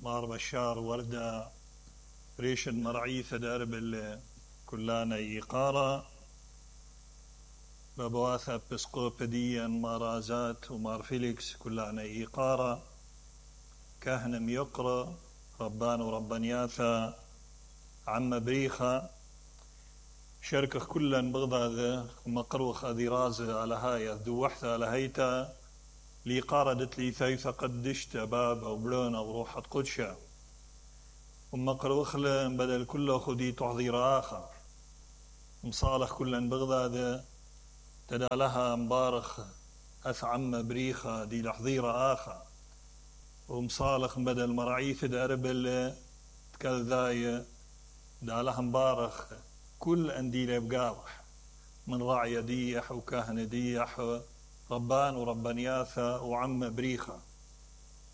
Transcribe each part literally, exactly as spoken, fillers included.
مار بشار وردة ريشد مرعيثة درب اللي كلانا يقارا ببواثة بسقوبديا مارازات ومار فيليكس كلانا يقارا كهنم يقرا ربان وربانياثا عم بريخة شركة كلا بغضاذ مقروخ ذي رازة على هاي ذوحثة على هيتا لي قاردت لي ثيثة قدشت باب أو بلون أو روحة قدشة ومقروخ لن بدل كله خدي تحضير آخر مصالح كلا بغضاذ تدالها مبارخ أث عم بريخة دي لحضير آخر ومصالح بدل مرعيث دارب اللي تكذاية دالها مبارخ كل أنديله بقاوح من راعي ديح وكاهن ديح ربان وربانياثا وعم بريخة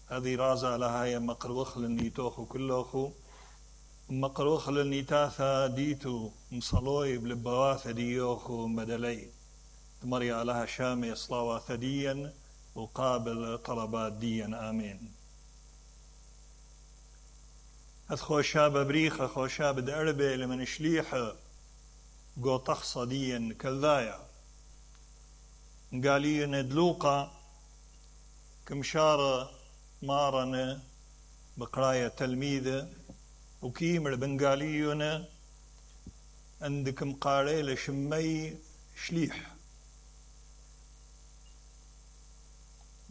هذه رازة لها هي مقروخ للنيتوخ كلوخو مقروخ للنيتاثا ديتو مصلوي بلبواثة ديوخو مدلي مريا لها شامي صلاوة ثديا وقابل طلبات ديا آمين هذ خوشاب بريخة خوشاب دأربة لمن شليحة قو تخصى ديا كالذايا قالي ندلوقة كمشارة مارنة بقراية تلميذة وكيمر بنقاليونا عندكم قاري لشمي شليح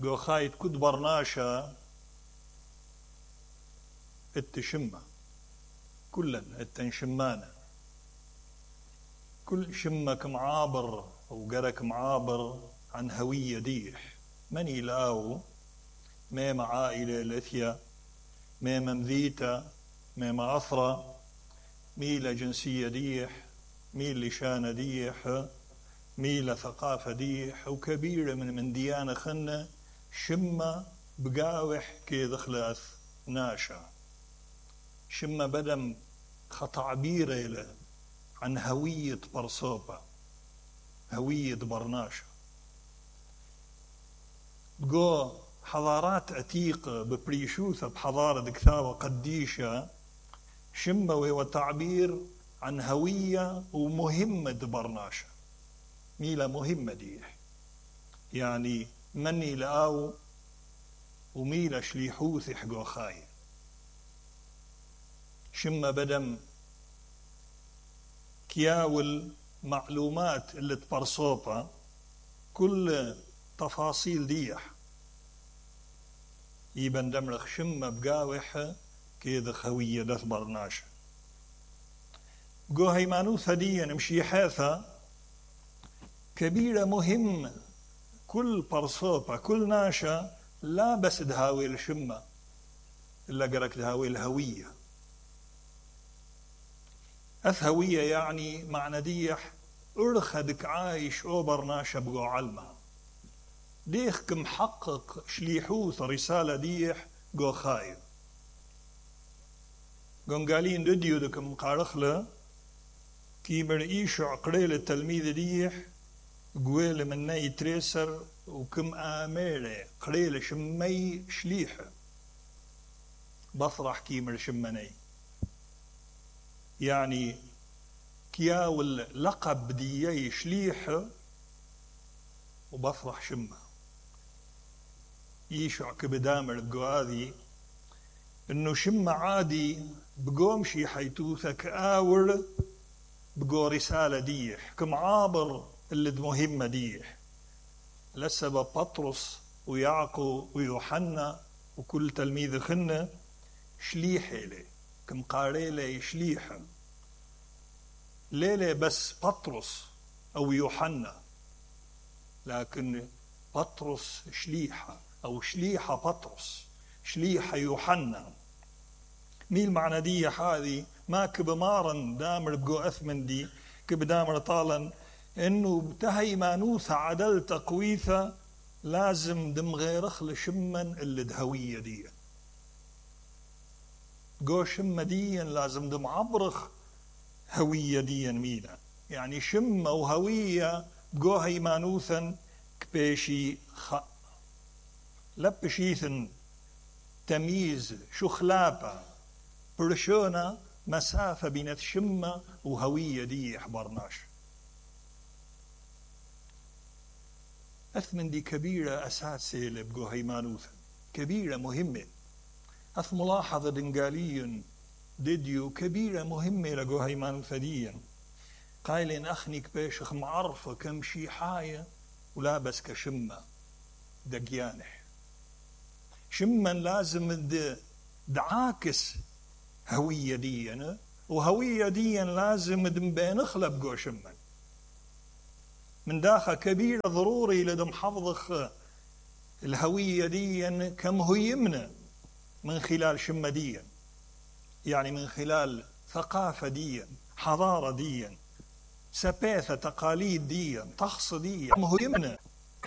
قو خايت كد برناشا التشمة كلا التنشمانة كل شمك معابر وقرك معابر عن هوية ديح مني لاو ميم عائلة لثيا ميم مذيتا ميم أثرة ميلة جنسية ديح ميل لشانة ديح ميلة ثقافة ديح وكبيرة من من ديانة خنة شمة بقاوح كي دخلت ناشا شمة بدم خطعبيرة له عن هوية برصوبة هوية برناشا بقو حضارات عتيقة ببريشوثة بحضارة كثاوة قديشة شمة وتعبير عن هوية ومهمة برناشا ميلة مهمة ديح يعني مني لآو وميلة شليحوث حقو خاي شمة بدم كياول معلومات اللي تبرصوبة كل تفاصيل ديح يبن دمرخ شمة بقاوحة كيذا خوية دث برناشا قو هيمانوثة دي نمشي حاثة كبيرة مهمة كل برصوبة كل ناشا لا بس دهاوي الشمة إلا قرك دهاوي الهوية أثهوية يعني معنى ديح أرخدك عايش أو برناشا بقو علمة ديخك محقق شليحوث رسالة ديح قو خايب قون قالين دديو دك مقارخلة كي مرئيش عقريل التلميذ ديح قويل من ناي تريسر وكم آميري قريل شمي شليحة بفرح كي مر شمني يعني كياول لقب ديي شليحة وبفرح شمه يشع كبدامر القواذي انه شمة عادي بقوم شي حيتوثة كآور بقو رسالة ديح كمعابر اللي مهمة ديح لسبب بطرس ويعقو ويوحنا وكل تلميذ خنة شليحة لي كم قاريلة شليحة ليلة بس بطرس أو يوحنا لكن بطرس شليحة أو شليحة بطرس شليحة يوحنا ميل معنى دي هذه ما كبمارن دامر بقو أثمن دي كبدامر طالا إنه بتهي مانوثة عدل تقويثة لازم دم غيرخ لشمن اللي دهوية دي قو شمة دي لازم دم عبرخ هوية دي ميلا يعني شمة وهوية بقو هي مانوثا كبيشي خ لبشيثن تمييز شخلابة برشونا مسافة بين شمة وهوية دي حبرناش. أثمن دي كبيرة أساسية لبقو هيمانوثا كبيرة مهمة. أث ملاحظة دنقاليا ديديو كبيرة مهمة لقو هيمانوثا ديا قايلين أخنيك بيشخ معرفة كم شي حاية ولابس كشمة دقيانح شما لازم دعاكس هوية ديا وهوية ديا لازم دنبين اخلب قو شما من داخل كبيرة ضروري لدم حفظخ الهوية ديا كم هو يمنى من خلال شمة ديا يعني من خلال ثقافة ديا حضارة ديا سباثة تقاليد ديا طقس ديا كم هو يمنى